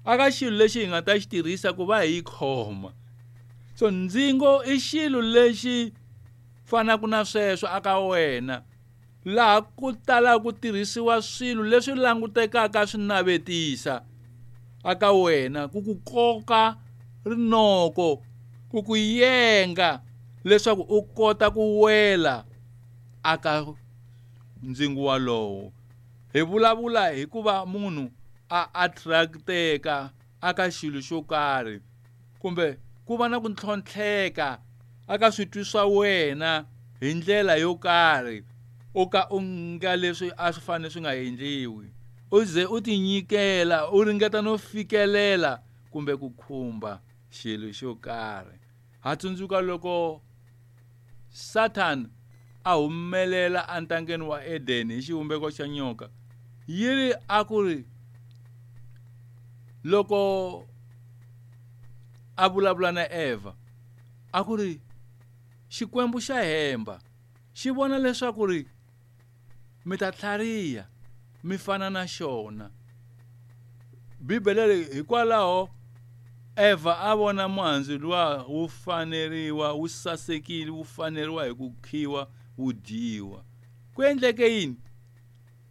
Aka xilo lexi hi nga ta xi tirhisa ku va hi yi khoma. So ndzingo i xilo lexi fanaka na sweswo aka wena, laha ku talaka ku tirhisiwa swilo leswi langutekaka swi navetisa aka wena, ku ku koka rinoko, ku ku yenga leswaku u kota ku wela aka ndzingo walowo. Hi vulavula hi ku va munhu a attracteka aka xilo xo karhi, kumbe ku va na ku ntlhontlheka aka switwi swa wena hi ndlela yo karhi, u ka u nga leswi a swi fanele swi nga endliwi, u ze u tinyikela, u ringeta no fikelela kumbe ku khumba xilo xo karhi. Ha tsundzuka loko Satan a humelela entangeni wa Eden hi xivumbeko xa nyoka, yi ri a ku ri loko a vulavula na Eva, a ku ri Xikwembu xa hemba, xi vona leswaku ri mi ta tlhariha mi fana na xona. Bibele leyi hikwalaho Eva a vona muhandzu luwa wu faneriwa, wu sasekile, wu faneriwa hi ku khiwa, wu dyiwa. Ku endleke yini?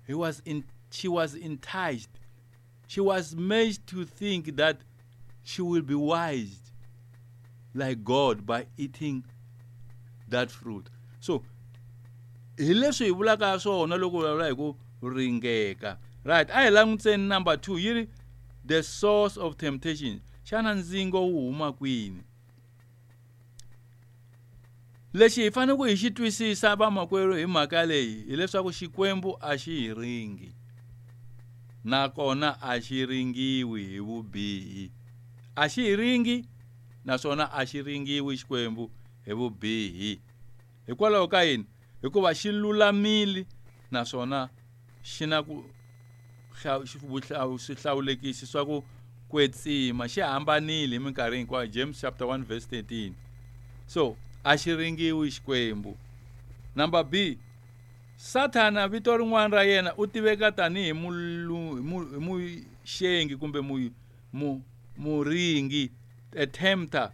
He was in, she was enticed. She was made to think that she will be wise like God by eating that fruit. So hi leswi hi vulaka swona loko vulavula hi ku ringeka. Right, a hi langutiseni number 2, yi ri the source of temptation. Xana ndzingo wu huma kwini? Lexi hi fanele ku hi xi twisisa vamakwerhu hi mhaka leyi hileswaku Xikwembu a xi hi ringi, nakona a xi ringiwi hi vubihi. A xi hi ringi naswona a xi ringiwi Xikwembu hi vubihi. Hikwalaho ka yini? Hikuva xi lulamile naswona xi na ku swihlawulekisi swa ku kwetsima, xi hambanile hi minkarhi hinkwayo. James chapter 1 verse 13. So a xi ringiwi Xikwembu. Number B, Sathana vito rin'wana ra yena u tiveka tanihi muxengi kumbe muringi, a tempter.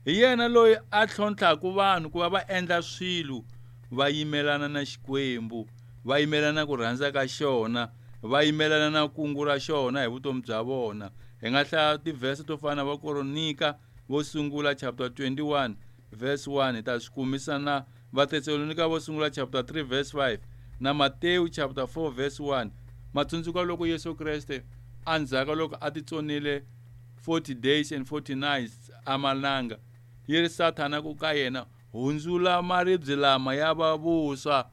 Hi yena loyi a tlhontlhaka vanhu ku va va endla swilo va yimelana na Xikwembu, va yimelana ku rhandza ka xona, va yimelana na kungu ra xona hi vutomi bya vona. Hi nga hlaya tivhese to fana na va Koronika vo sungula chapter 21 verse 1, hi ta swi kumisa na Vatesalonika vo sungula chapter 3 verse 5 na Matewu chapter 4 verse 1. Matsundzuka loko Yesu Kreste endzhaku loko a titsonile 40 days and 40 nights amalanga, yi ri Sathana ku ka yena, hundzula maribye lama ya va vuswa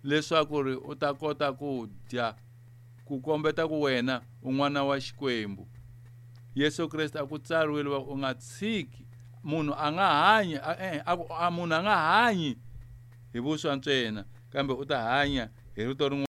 leswaku ri u ta kota ku dya, ku kombeta ku wena u n'wana wa Xikwembu. Yesu Kreste a ku tsariwile va u nga tshiki munhu a nga hanyi, a munhu a nga hanyi hi vuswa ntsena, kambe u ta hanya hi rito rin'wana.